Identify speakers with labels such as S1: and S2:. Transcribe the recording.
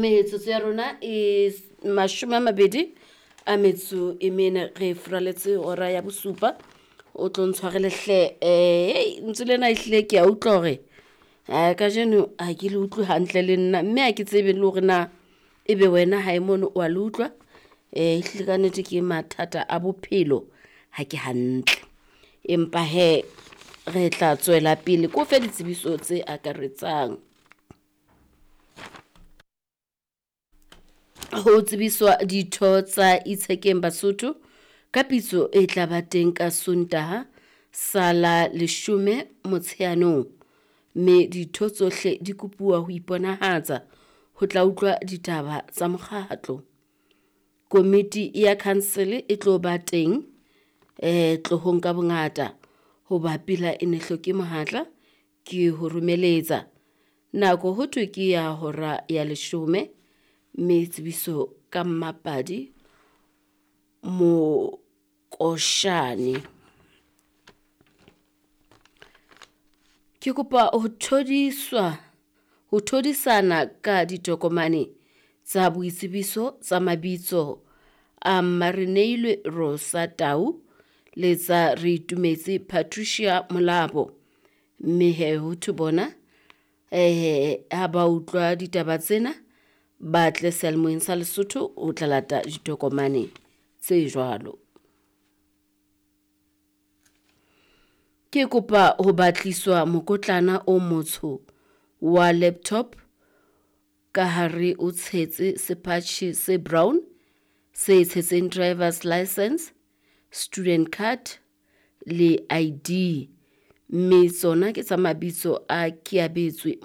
S1: Metsotso ya rona e 24 re furaletse hora ya bosupa. O tlo ntshwarele hle, lentswe lena ehlile ke a utlwa hore kajeno ha ke le utlwe hantle le nna, mme ha ke tsebe le hore na ebe wena hae mono wa le utlwa. Ehlile kannete ke mathata a bophelo, ha ke hantle, empa hee re tla tswela pele ke o fe ditsebiso tse akaretsang. Ho tsebiswa ditho tsa Itshekeng Basotho ka pitso e tla ba teng ka Sontaha sa la 10 Motsheanong, mme ditho tsohle di kopuwa ho iponahatsa ho tla utlwa ditaba tsa mokgatlo. Komiti ya council e tlo ba teng tlohong ka bongata hoba pila e ne hloke mohatla ke ho romeletsa. Nako ho thwe ke ya hora ya 10, mme tsebiso ka Mmapadi Mokoshane. Ke kopa ho thodiswa ho thodisana ka ditokomane tsa boitsebiso tsa mabitso a Mareneilwe Rosa Tau le tsa Reitumetse Patricia Molapo. Mme he ho thwe bona ha ba utlwa ditaba tsena ba tle seyalemoyeng sa Lesotho ho tla lata ditokomane tse jwalo. Ke kopa ho batliswa mokotlana o motsho wa laptop ka hare o tshetse sepatjhe se brown se tshetseng drivers licence, student card le ID, mme tsona ke tsa mabitso a Keabetswe.